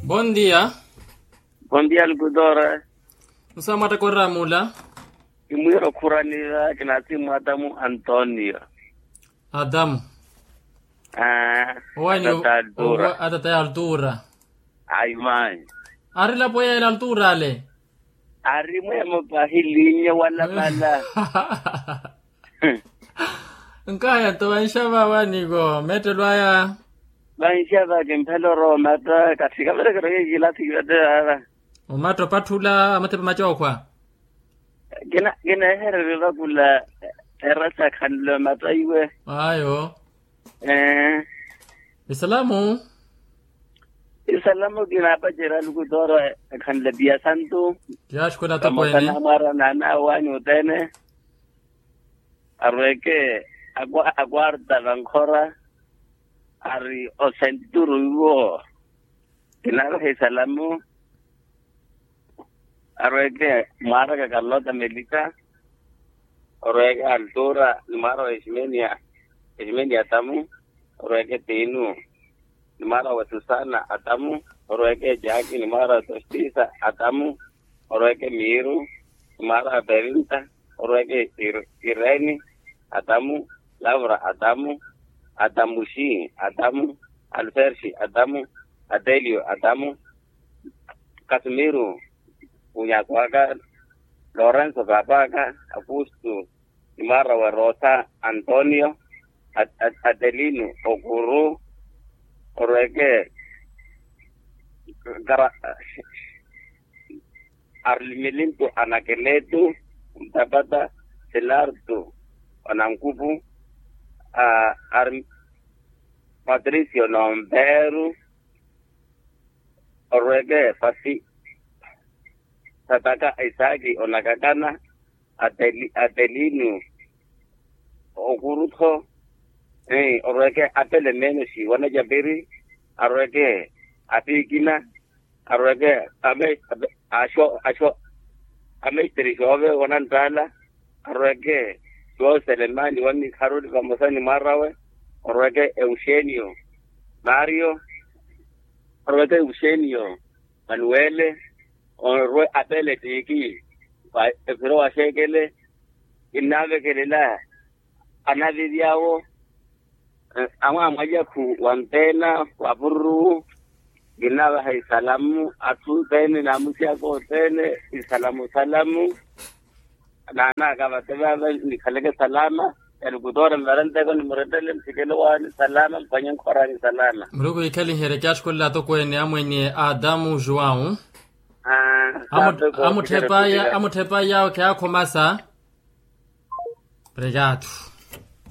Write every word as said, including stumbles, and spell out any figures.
Bon dia. Bon dia lukutora. Musaamwatta korramula. Kimwiira okhuraniva kinasimwata mu antonio. Adamu. Aa. Owanyu. Atata altura. Atata ya altura. Ayi mayi. Ari lapo yela altura ale. Ari mwemo pahilinya wala mala. Nkaya nto vanxava waniko mettelo aya. Vanxava kimphela orowa omatta kathi kaverekero yekilathi kivatte vava. Omatta opatthula amathepa macookhwa. Kina kinehererye vakula. Erasa khanle omatta iwe. Ayo. Eeh. Isalamu. Isalamu kinaapacerya alukutooro. Ekhanle piya santu. Tiyaaxukhwela atokweene. Pamosa namwaara naana awanyu othene. Arweke akwarta vankhora. Ari osenturu iwo. Kinaapacerya isalamu. Arweke mwaaraka kalota melika. Orweke altura ni mwaara wa eximenia. Eximenia atamu. Orweke tinu ni mwaara wa susana atamu. Orweke jaki ni mwaara wa sostisa atamu. Orweke miiru ni mwaara wa perinta. Orweke ireni atamu. Lavra atamu. Atamuxi atamu. Alferxi atamu. Atelio atamu. Kasimiru. Unyakwaka. Lorenso papaka. Akustu. Ni mwaara wa rosa. Antonio. Atelinu okuru. Orweke. Arlimilintu anakeletu. Ntapata. Silartu. Onankupu. Ari. Patricio nomperu. Orweke pasi. Sataka isaaki onakakana. Atelinu. Okurutho. Orweke apele meenoxi wanacapiri. Arweke apiikina. Arweke. Axo axo. Amesteri xoove wananttaala. Arweke. Xooselemani wannikharuli vamosa ni mwaarawe. Orweke euxenio. Mario. Orweke euxenio. Manuwele. Orwe apele tiiki. Wa ephiro wa xeekele. Kinnaavekelela. Anavivi awo. Amwaamwalyakhu wa mpena wa pururu. Kinnaavaha isalamu atthu othene n'amusi aka othene. Isalamu salamu. Naanaka vate vava nikhaleke salama. Yalukutoora mvaranteko nimurettele mphikelo waani salama mphwanye nkhorani salama. Muluku yikhaliherye kyaxukulela atokweene amwene a adamu juwau. Amutthepa yawe kheyaakhomasa. Obrigado.